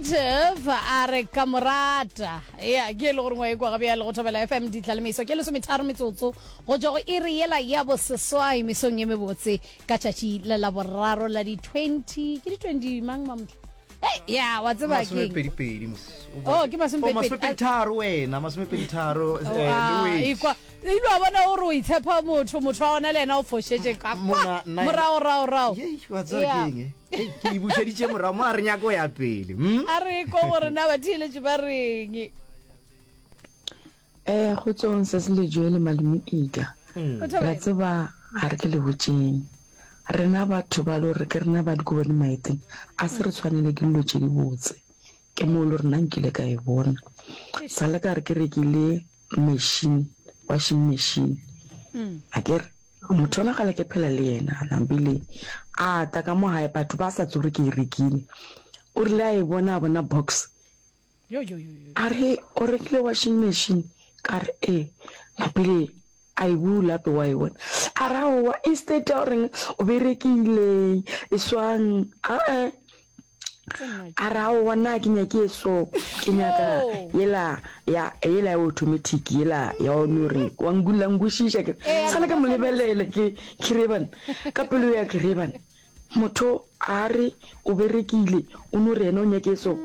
Creative a re ka morata. Ya, ke e le gore ngwa e kwa ga bjale go Thobela FM ditlalemeso ke lesometharo metsotso go tšwa go iri yela ya boseswai mesong ye mebotse ka tšatši la laboraro la di 20 ke di 20 mang mamotla Hey, ya wa tseba keng masomepedipedi mos Oh, ke masomepedi- Oh, masomepeditharo wena masomepeditharo Oh, eh, ah, le ekwa ile wa bona gore o itshepa motho motho wa gona le yena o fošetše ka kwa Mona, nna- morago rago rago Yei, wa tseba Yeah. keng eh? Hei, ke e bušeditše morago mo a re nyako ya pele hmm? a re ko gore na batheeletši ba reng Eh, kgotsong se se lejwe le malome Ika. O Ra thobela. tseba ga re ke le botšeng. Rena batho ba le gore ke rena ba dikobo le maeteng, a se re tshwanele ke dilo tše dibotse. Ke moo le gore nna nkile ka e bona. Sa le ka re ke rekile machine, washing machine. Akere motho yola kgale ke phela le yena, napile a tla ka mo gae batho ba sa tsebe gore ke e rekile. O rile a e bona a bona box A re, O rekile washing machine? Ka re, Ee. Napile a e bula gape wa e bona. A re, Aowa, instead ya goreng o berekile, e swang, a-e. A re, Aowa, nna ga ke nyake e so, ke nyaka yela ya, yela ya automatic, yela ya o no re wa la nkwešiša ke. Sale ka mo lebelela ke, ke re banna, ka pelo ya ke re banna, Motho a re o berekile, o no re yena o nyake so.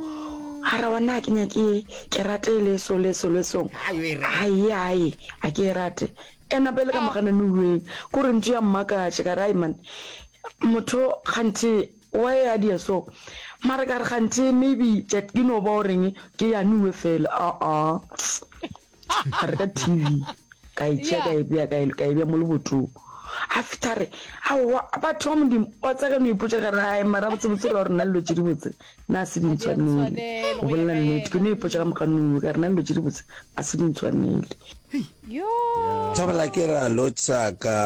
A ra wa na ke nyake ke rate le so le so le so. Ai ai a ke e rate. E napa e le ka mogana nuweng. Ko re ntho ya mmakatša ka re ai man. Motho kganthe why a dia so. Mara ka re kganthe maybe ke no ba o reng ke ya nuwe fela. Aa. Ka reka TV, ka e tšea ka e bea ka e, ka e bea mo lebotong. A fihla a re, Aowa, batho ba Modimo, wa tseba ka no ipotša ka re, Ai, mara botsebotse ra gore nna dilo tše dibotse na se di ntshwanele. Go bolela nnete, ke no ipotša ka moganong ka re nna dilo tše dibotse a se di ntshwanele. Thobela ke ra lotša ka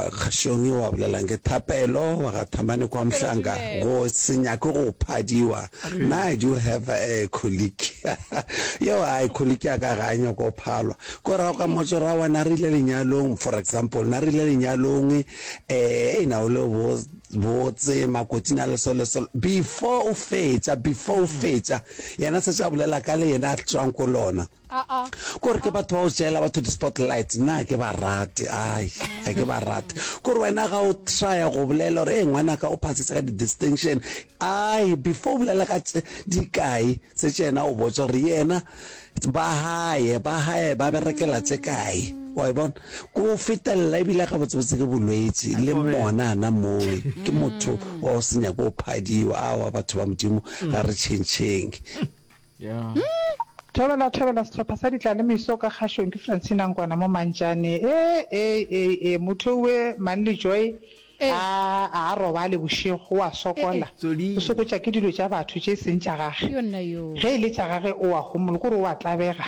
kgašong eo a bolelang ke Thapelo wa ga Thamane kwa Mhlanga go se nyake go phadiwa nna I do have a colleague yeo ai colleague ya ka ga a nyake go phalwa ko ra ka motso ra wa na re ile lenyalong for example na re ile lenyalong eh e na o le bo botse makotsing a le so le so before o fetša before o fetša yena se tša bolela ka le yena a tswang ko lona Kore ke batho ba go tšeela batho di-spotlight, nna ga ke ba rate, ai, ga ke ba rate. Kore wena ga o trya go bolela gore ee ngwanaka o phasitse ka di-distinction, ai, before o bolela ka tše dikae setse yena o botša gore yena ba gae, ba gae ba berekela tše kae, wa e bona. Ko o fetelela ebile gabotsebotse ke bolwetši, le mona gana mowe ke motho wa go se nyake go phadiwa, aowa batho ba Modimo ga re tšhentšheng. Thobela thobela sehlopha sa Ditlalemeso ka kgašong ke Francina Nkwana mo Mantšane e e e e motho owe Manly Joy a a a robale bošego o a sokola o sokotša ke dilo tša batho tše seng tša gage ge e le tša gage o a homola kore o a tlabega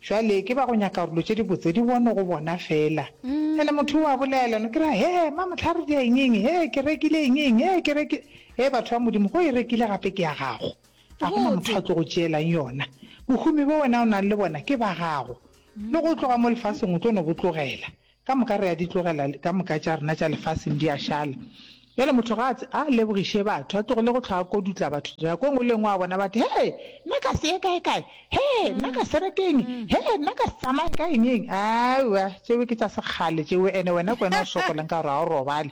jwale ke ba go nyaka gore dilo tše dibotse di bonwe go bona fela ene motho o a bolela no ke ra he mamohlare di a eng eng he ke rekile eng eng he ke rekile he batho ba Modimo go e rekile gape ke ya gago Ga go na motho a tlo go tšeelang yona. Bohumi bo wena o nang le bona ke ba gago. Le go tloga mo lefaseng o tlo no bo tlogela. Ka moka re a di tlogela, ka moka tša rena tša lefaseng di a šala. Bjale motho ga a a lebogiše batho, a tlogele go hlwa a kodutla batho. Nako e nngwe le e nngwe a bona batho, Hee! Nna ka se ye kae-kae. Hee! Nna ka se reke eng. Hee! Nna ka se tsamaye ka eng-eng. Aowa, tšeo ke tša sekgale tšeo. Ene wena ke wena o sokolang ka gore ga o robale.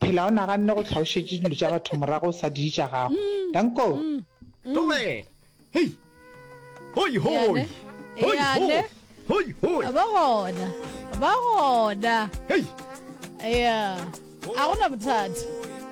Phela o naganne go hlwa o šetše dilo tša batho morago o sa di tša gago. Danko. Tlogela. Hei. Hoi hoi. Hoi hoi. Hoi hoi. Ba gona. Ba gona. Hei. Yeah. A gona bothata.